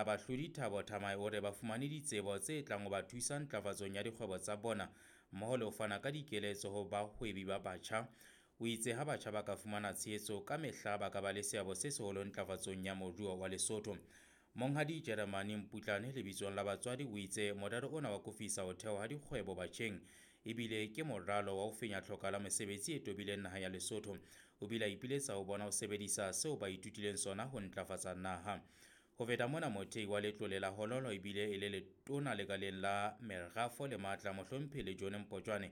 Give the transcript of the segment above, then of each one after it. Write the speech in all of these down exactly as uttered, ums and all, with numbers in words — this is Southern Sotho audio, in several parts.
la bahlodi Thabo Thamae o re ba fumane ditsebo tse tlang ho ba thusa ntlafatsong ya dikgwebo tsa bona mmoho le ho fana ka dikeletso ho bahwebi ba batjha. O itse ha batjha ba ka fumana tshehetso ka mehla ba ka ba le seabo se seholo ntlafatsong ya moruo wa Lesotho. Monghadi Jeremane Mputlane lebitsong la batswadi o itse morero ona wa akofisa ho thewa ha dikgwebo batjheng ebile ke moralo wa ho fenya tlhoka la mesebetsi e tobileng naha ya Lesotho. O bile a ipiletsa ho bona ho sebedisa seo ba ithutileng sona ho ntlafatsa naha. Ho feta mona, mothei wa letlole la Hololo ebile e le letona lekaleng la merafo le matla mohlomphehi Lejone Mpotjwane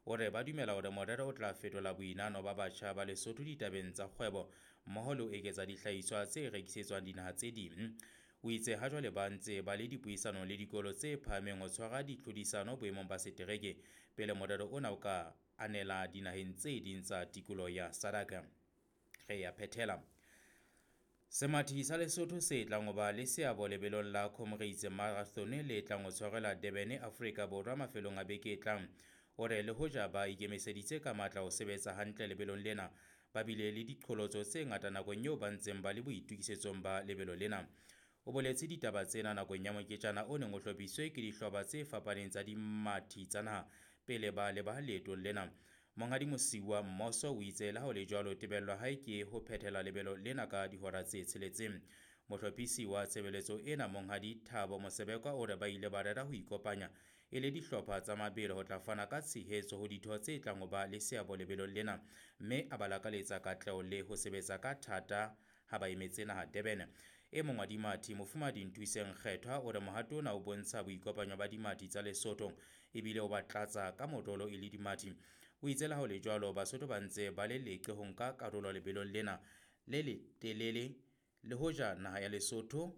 o re ba dumela hore morero o tla fetola boinahano ba batjha ba Lesotho ditabeng tsa kgwebo mmoho le ho eketsa dihlahiswa tse rekisetswang dinaha tse ding. O itse ha jwale ba ntse ba le dipuisanong le dikolo tse phahameng ho tshwara ditlhodisano boemong ba setereke pele morero ona o ka anela dinaheng tse ding tsa tikoloho ya SADC. Re ya phethela. Semathi sa Lesotho se tlang ho ba le seabo lebelong la Comrades Marathon le tlang ho tshwarelwa Durban, Afrika Borwa mafelong a beke e tlang. O re le hoja ba ikemiseditse ka matla ho sebetsa hantle lebelong lena, ba bile le diqholotso tse ngata nakong eo ba ntseng ba le boitokisetsong ba lebelo lena. O boletse ditaba tsena nakong ya moketjana o neng o hlophisitswe ke dihlopha tse fapaneng tsa dimathi tsa naha pele ba leba leetong lena. Monghadi Mosiuwa Mmoso o itse le ha ho le jwalo tebello ya hae ke ho phethela lebelo lena ka dihora tse tsheletseng. Mohlophisi wa tshebeletso ena Monghadi Thabo Mosebekwa o re ba ile ba rera ho ikopanya e le dihlopha tsa mabelo ho tla fana ka tshehetso ho ditho tse tlang ho ba le seabo lebelong lena, mme a ba lakaletsa katleho le ho sebetsa ka thata ha ba emetse naha Durban. E mong wa dimathi Mofumahadi Nthuseng Kgethwa o re mohato ona o bontsha boikopanyo ba dimathi tsa Lesotho ebile o ba tlatsa ka morolo e le dimathi. O itse le ha ho le jwalo Basotho ba ntse ba le leqe ho nka karolo lebelong lena le letelele le hoja naha ya Lesotho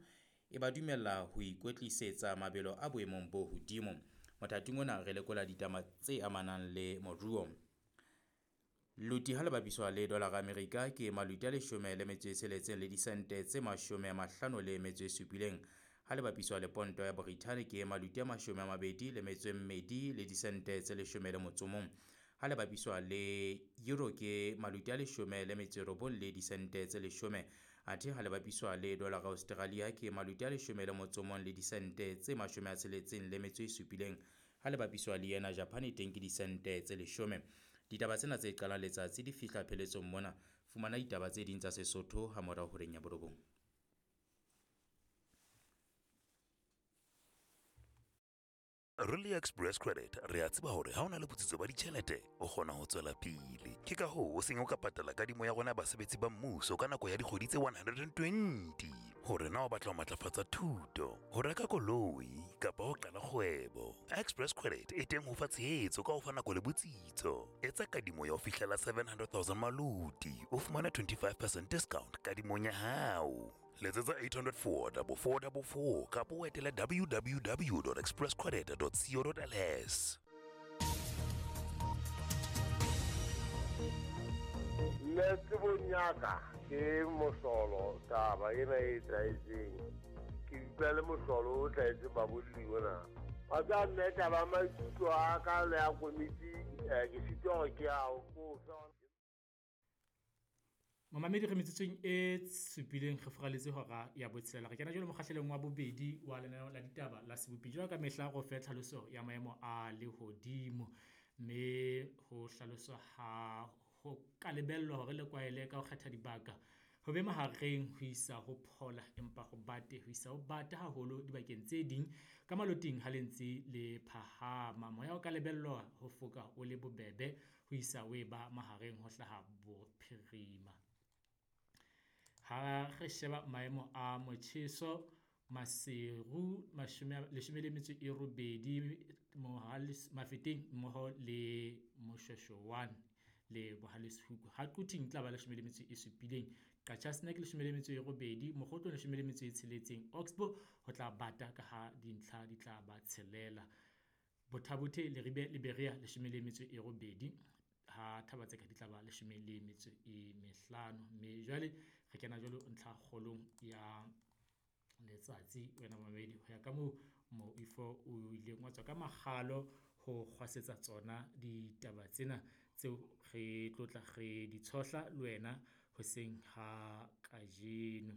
e ba dumella ho ikwetlisetsa mabelo a boemong bo hodimo. Mothating ona re lekola ditaba tse amanang le moruo. Luti ha le bapiswa le dolara Amerika ke maluti a leshome le metso e tsheletseng le disente tse mashome a mahlano le metso e supileng. Ha le bapiswa le ponto ya Brithani ke maluti a mashome a mabedi le metso e mmedi le disente tse leshome le motso mong. Ha le bapiswa le euro ke maluti a leshome le metso e robong le disente tse leshome. Athe ha le bapiswa le dolara Australia ke maluti a leshome le motso mong le disente tse mashome a tsheletseng le metso e supileng. Ha le bapiswa le yena Japan teng ke disente tse leshome. Ditaba tsena tse qalang letsatsi di fihla pheletsong mona. Fumana ditaba tse ding tsa Sesotho ha morao horeng ya borobong. Really Express Credit re a tseba hore ha o na le botsitso ba ditjhelete o kgona ho tswela pele. Ke ka hoo o seng o ka patala kadimo ya rona basebetsi ba mmuso ka nako ya dikgwedi tse one hundred and twenty. Hore na o batla ho matlafatsa thuto, ho reka koloi kapa ho qala kgwebo. Express Credit e teng ho fa tshehetso ka ho fa nako le botsitso. Etsa kadimo ya ho fihlela seven hundred thousand maluti, o fumane twenty-five percent discount kadimong ya hao. Letsetsa eight hundred four double four double four kapa o etele w w w dot express credit dot co dot l s. Nna tsebong ya ka ke mohlolo taba ena e etsahetseng. Ke utlwa le mohlolo o tlwaetse babolli ona. Wa tseba nna taba ya maikutlo a ka le ya komiti, eh, ke sitwa hore ke a o fe. Mamamedi re metsotsong e supileng re furaletse hora ya botshelela. Re kena jwale mokgahlelong wa bobedi wa lenaneo la ditaba la Sebopi. Jwalo ka mehla go fe tlhaloso ya maemo a lehodimo, mme ho hlaloswa ha ho ka lebellwa hore le kwaele ka ho kgetha dibaka ho be mahareng ho isa ho phola, empa ho bate ho isa ho bata haholo dibakeng tse ding ka maloting ha le ntse le phahama. Moya o ka lebellwa ho foka o le bobebe ho isa o eba mahareng ho hlaha bophirima. Ha re sheba maemo a motjheso, Maseru mashome leshome le metso e robedi, Mohales Mafeteng mmoho le Moshweshwe le Bohaleshoek. Ha Quthing tla ba leshome le metso e supileng, Qacha's Nek leshome le metso e robedi, Mokhotlong leshome le metso e tsheletseng, Oxbow ho tla bata ka ha dintlha di tla ba tshelela. Botha-Bothe, Leribe le Berea leshome le metso e robedi, ha Thaba-Tseka di tla ba leshome le metso e mehlano. Mme jwale re kena jwalo ntlha kgolong ya letsatsi wena mamedi, ho ya ka moo moifo o ileng wa tswa ka makgalo ho kgwasetsa tsona ditaba tsena tseo re tlotla re di tshohla le wena hoseng ha kajeno.